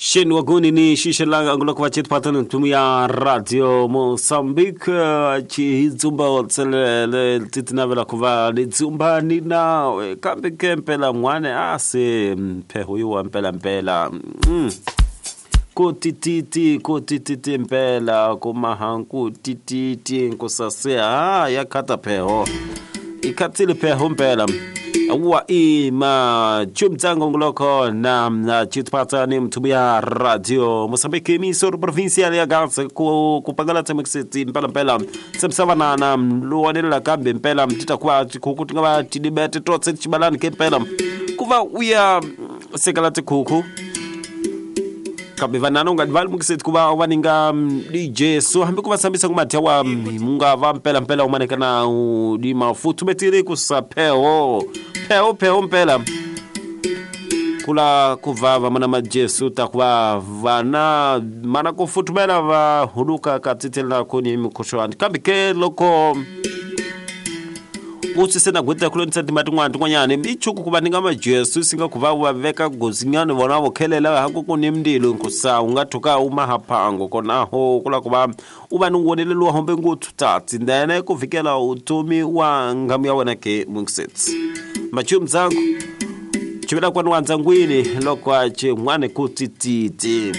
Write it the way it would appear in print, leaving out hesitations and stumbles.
Sheni waguni ni shishelanga anguloko va chitiphatana ntumu ya Radio Mozambique chihidzumba tselele titinavela ku va ni dzumba ni nawe kambe ke mpela n'wana a se mpheho yiwa mpela mpela. Ku tititi ku tititi mpela ku mahanku tititi nkusase ha ya khata pheho i khatsile pheho mpela wa ima chumtsango nguloko na na chitipatsa ni mthubu ya Radio Mozambique emisoro provincial ya Gaza ku kupangala tsemekiseti mpela mpela semsavanana luwanelela kambe mpela mtita kwa tikhuku ti nga va tidibete totse tichibalani ke mpela ku va uya sekela tikhuku kambe vanana u nga va lemukiseti ku va va ninga DJ so hambi ku va sambisa ku madya wa mu nga va mpela mpela u maneka na u di mafutumetiri ku sa pheho pheho pheho mpela kula ku va va mana majesu ta ku va vana mana ku futumela va huluka ka tsitselela kuni mikhuhlwani kambe ke loko u swi se na gweta ku lonisa tima tin'wana tin'wanyana i chuku ku va ni nga majesu si nga ku va va veka gozinyana vona vo khelela ha ku ku ni mndilo nkusa u nga thuka u mahaphango konaho kula ku va u va ni woneleliwa hombe nguthu tatsi then ku vikela utomi wa ngamu ya wena ke mungisetsi machumu dzangu chivela kwani wa ndzangwini loko a chin'wani ku tititi.